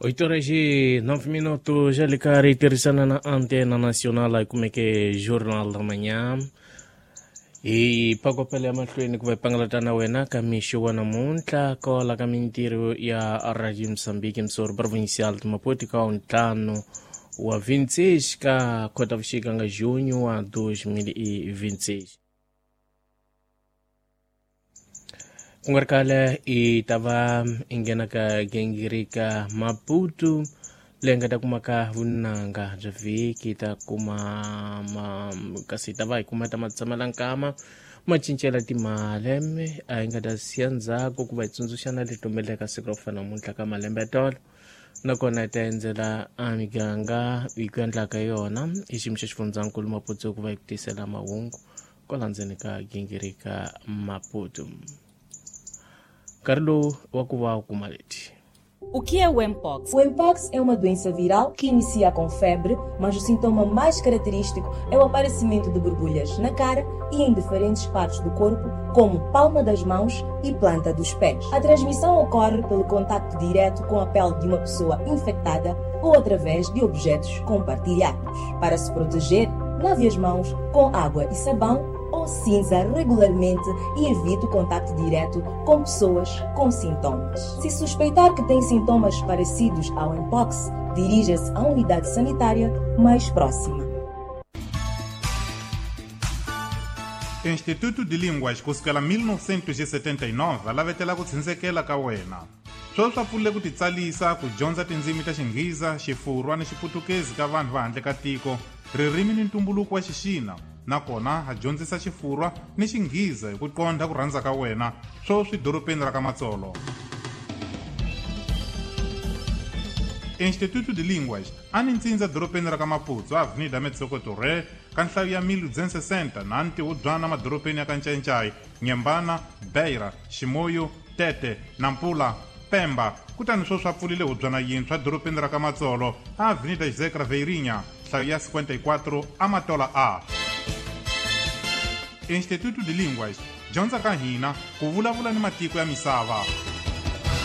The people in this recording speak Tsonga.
8 horas e 9 minutos, já ligar e tirhisana na Antena Nacional yi kumeke Jornal da Manhã. Hi pakopela ya mahlweni ku va hi pangalata na wena ka mixo wa namuntlha kwala ka mintirho ya Radio Mozambique Msori Provincial de Maputo ka ntlhanu wa 26 ka Khotavuxika nga junho wa 2026. Ku nga ri khale i ta va i nghena ka gingirika Maputo leyi nga ta kuma ka vunanga bya vhiki ta kuma ma, kasi ta va hi kuma ta matshamalankhama ma cincela timali a yi nga ta siya ndzhaku ku va hi tsundzuxana leti humelelaka siku ra ku fana namuntlha ka malembe ya tolo, nakona hi ta endzela a miganga hi ku endlaka yona i xiyimo xa xifundzankulu Maputo ku va hi ku tisela mahungu kwala ndzeni ka gingirika Maputo. Nkarhi lowu wa ku va u kuma leti. O que é o Mpox? O Mpox é uma doença viral que inicia com febre, mas o sintoma mais característico é o aparecimento de borbulhas na cara e em diferentes partes do corpo, como palma das mãos e planta dos pés. A transmissão ocorre pelo contacto direto com a pele de uma pessoa infectada ou através de objetos compartilhados. Para se proteger, lave as mãos com água e sabão ou cinza regularmente e evite o contacto direto com pessoas com sintomas. Se suspeitar que tem sintomas parecidos ao Mpox, dirija-se à unidade sanitária mais próxima. Instituto de Línguas kusukela 1979 a lavetela ku tshindzekela ka wena. Sweswi swa pfulile ku titsalisa ku dyondza tindzimi ta Xinghiza, Xifurwa ni Xiputukezi ka vanhu va handle ka tiko, ririmi ni ntumbuluko wa Xixina, nakona ha dyondzisa Xifurwa ni Xinghiza hi ku qondha ku rhandza ka wena, sweswi dorobeni ra ka Matsolo. Instituto de Línguas a ni ntsindza dorobeni ra ka Maputo, Avenida Metsoko Torre, ka nhlayo ya 1260 na ntihubyana madorobeni ya ka Ncayincai, Nyembana, Beira, Ximoyo, Tete, Nampula, Pemba. Kutani sweswi a pfulile hubyana yintshwa dorobeni ra ka Matsolo, Avenida José Craveirinha, nhlayo ya 54, Amatola A. Instituto de Línguas, dyondza ka hina ku vulavula ni matiko ya misava.